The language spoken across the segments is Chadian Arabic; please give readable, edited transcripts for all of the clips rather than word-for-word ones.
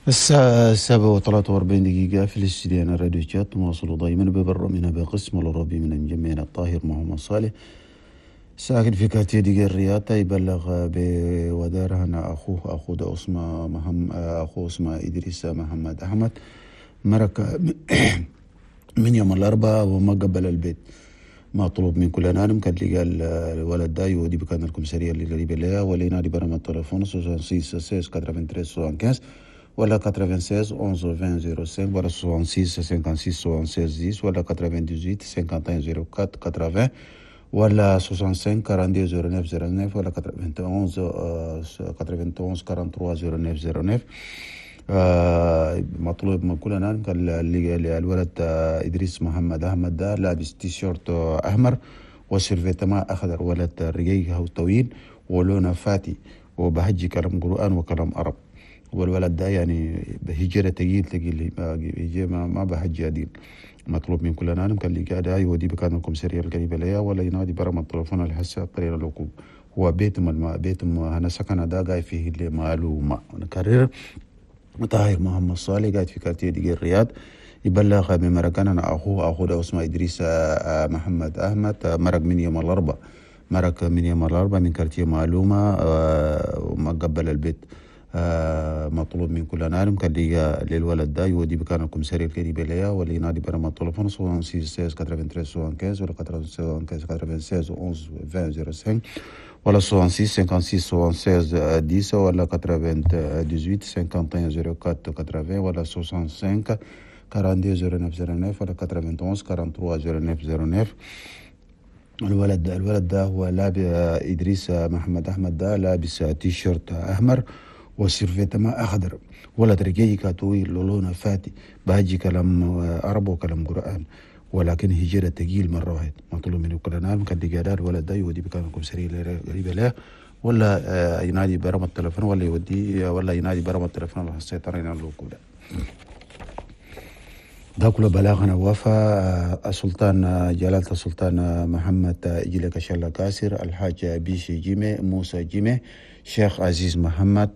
الساعة 7:43 في الاستديو الراديو شات. نواصل دائما ببرنامجنا بقسم العربي من مجمعنا الطاهر محمد صالح، ساكن في quartier ديغير الرياض. يبلغ بودار هنا أخوه ده اسمه محمد، أخوه اسمه إدريس محمد أحمد، مرق من يوم الأربعاء وما قبل البيت. مطلوب من كل نانم كان لقى الولد ده يودي بكان الكمسارية اللي قريبة لها، ولا ينادي برقم التليفون 66 16 93 75 ولا 96 11 20 05 ولا 66 56 76 10 ولا 98 51 04 80 ولا 65 42 09 09 ولا 91 91 43 09 09. مطلوب من كل نانم كان الولد إدريس محمد أحمد ده لابس تيشيرت أحمر و survêtement أخضر، ولد رقيق أو طويل ولونه فاتي وبهجي كلام قرآن وكلام عرب. والولد ده يعني هجرة تقيل تقيل، ما بهجي عديل. مطلوب من كل نانم كان اللي قاعد يودي بكان الكمسارية القريبة ليا، ولا ينادي برقم التليفون الحسا الطريق الوقوف. هو بيتهم بيتهم هنا سكن ده قاعد فيه اللي معلومة. نكرر، طاهر محمد صالح قاعد في quartier ديغير الرياض، يبلغ بمرقان أنا أخوه ده اسمه إدريس محمد أحمد، مرق من يوم الأربعاء، مرق من يوم الأربعاء من quartier معلومة وما قبل البيت. مطلوب من كل نارم كان لقى للولد ده يودي بكان الكمسارية القريبة ليا، ولا ينادي برقم التليفون 66 16 93 75 ولا 95 96 11 20 05 ولا 66 56 76 10 ولا 98 51 04 80 ولا 65 42 09 09 ولا 91 43 09 09. الولد ده هو لابس إدريس محمد أحمد ده لابس تيشيرت أحمر و survêtement أخضر، ولد رقيق طويل لونه فاتي بهجي كلام عرب وكلام قرآن، ولكن هجرة تقيل مرة واحد. مطلوب من كل نام كان دقيقة الولد ده يودي بكان الكمسارية قريبة له، ولا ينادي برقم التليفون، ولا يودي ولا ينادي برقم التليفون على السيطرة الوقود. ده كله بلاغنا وفا السلطان جلالة السلطان محمد إجلك شلا كاسر، الحاج بيشي جيمي، موسى جيمي، شيخ عزيز محمد،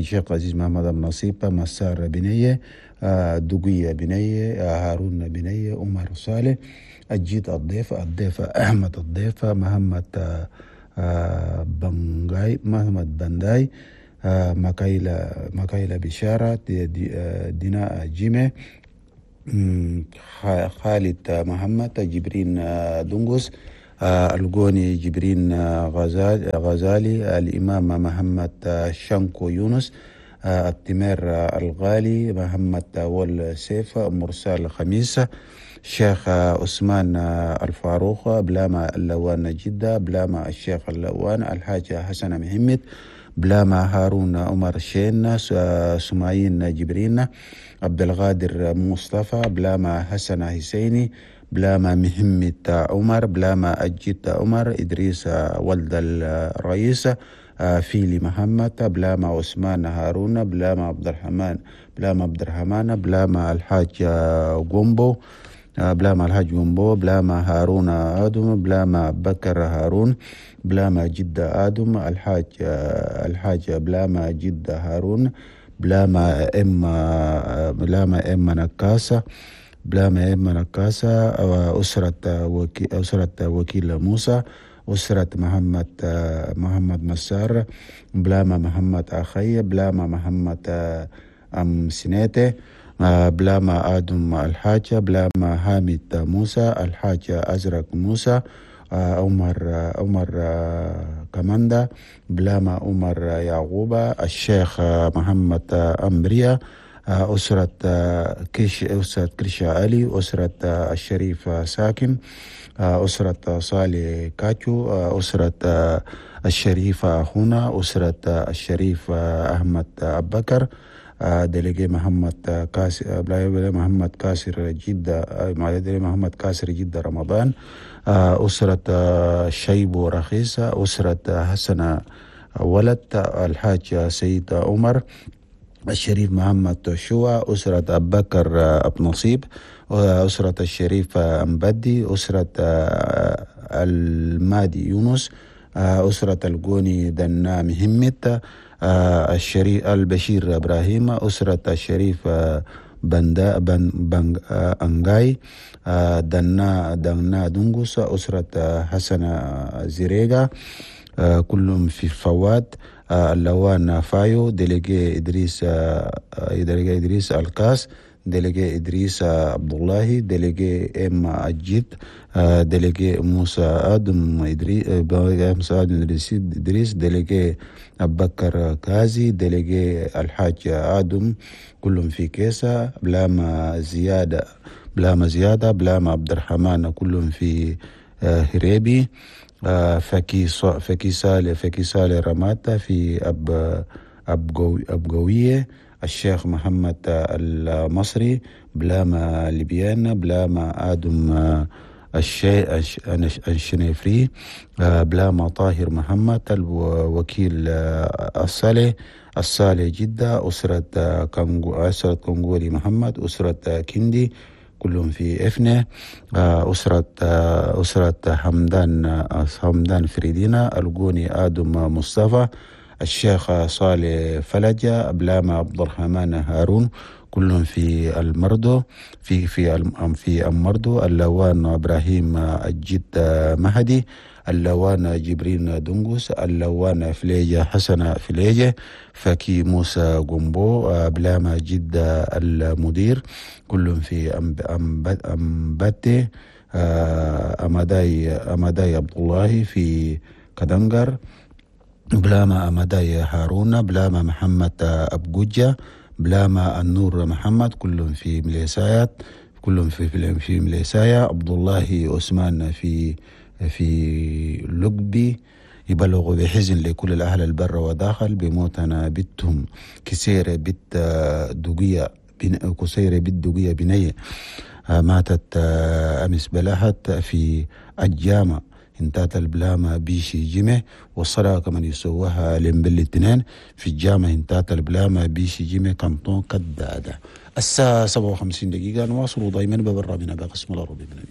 شيخ عزيز محمد النصيب، مسار بنية، دقية بنية، هارون بنية، عمر صالح، الجيت الضيف، الضيف أحمد الضيف، محمد بنغاي، محمد بنداي، مكايلة بشارة، دينا جيمي، خالد محمد، جبرين دنقس، الجوني جبرين غزالي، الإمام محمد شانكو يونس، التمير الغالي، محمد والسيف، مرسال خميس، الشيخ عثمان الفاروق، بلاما اللوان جدة، بلاما الشيخ اللوان، الحاج حسن محمد، بلاما هارون عمر شين، سمايين جبرين، عبد الغادر مصطفى، بلاما حسن حسيني، بلاما مهمة عمر، بلاما أجيت عمر، إدريس ولد الرئيس، فيلي محمد، بلاما عثمان هارون، بلاما عبد الرحمن، بلاما عبد الرحمن، بلاما الحاج جومبو، بلاما الحاج جومبو، بلاما هارون آدم، بلاما بكر هارون، بلاما جدة آدم، الحاج بلاما جدة هارون، بلاما إم، بلاما إم نكاسة، بلاما إم نكاسة، أسرة وكيل موسى، أسرة محمد مسار، بلاما محمد أخي، بلاما محمد أم سنيته، بلاما آدم الحاج، بلاما حامد موسى، الحاج أزرق موسى، عمر كماندا، بلاما عمر يعقوب، الشيخ محمد أمبريا، أسرة كيش، أسرة كرشا علي، أسرة الشريف ساكن، أسرة صالح كاتشو، أسرة الشريف أخونا، أسرة الشريف أحمد أبكر، délégué محمد كاسر، محمد كاسر جدة، محمد كاسر جدة رمضان، أسرة شيبو رخيصة، أسرة حسن ولد، الحاج سيد عمر، الشريف محمد شوى، أسرة أبو بكر أبو نصيب، أسرة الشريف أمبدي، أسرة المادي يونس، أسرة الجوني دنا مهمت، الشريف البشير إبراهيم، أسرة الشريف بندا بن بن أنغاي، دنا دنجوس، أسرة حسن زريقة، كلهم في فواد، اللوان فايو، délégué إدريس، délégué إدريس الكاس، délégué إدريس عبد الله، délégué إم أجيد، délégué موسى آدم إدريس، موسى آدم إدريس، délégué أبكر كازي، délégué الحاج آدم، كلهم في كيسة، بلاما زيادة، بلاما زيادة، بلاما عبد الرحمن، كلهم في هريبي، فكي فكي صالح، فكي صالح رماتا في أبقوية، الشيخ محمد المصري، بلاما ليبيان، بلاما آدم الشنيفري، بلاما طاهر محمد الوكيل الصالح، الصالح جدة، أسرة كونغو، أسرة كونغولي محمد، أسرة كندي، كلهم في إفنة، أسرة حمدان فريدينا، الجوني آدم مصطفى، الشيخ صالح فلجة، بلاما عبد الرحمن هارون، كلهم في المردو، في في في المردو، اللوان إبراهيم الجد مهدي، اللوان جبرين دنجوس، اللوان فليجة حسن فليجة، فكي موسى جومبو، بلاما جدة المدير، كلهم في أمبتي، أمداي عبد الله في كدنجر، بلاما أمداي هارون، بلاما محمد أبجوجة، بلاما النور محمد، كلهم في مليسايات، كلهم في مليسايا، عبد الله عثمان في لقبي. يبلغ بحزن لكل الأهل البر وداخل بموتنا بنتهم كسيرة بنت دقية، كسيرة بنت دقية بنية، ماتت أمس بلهت في الجامع انتات البلامة بيشي جمه، والصلاة كمان يسووها لمبل الاثنين في الجامع انتات البلامة بيشي جمه كانتون كدادة. الساعة 57 دقيقة نواصل دائما ببرامجنا بقسم العربي من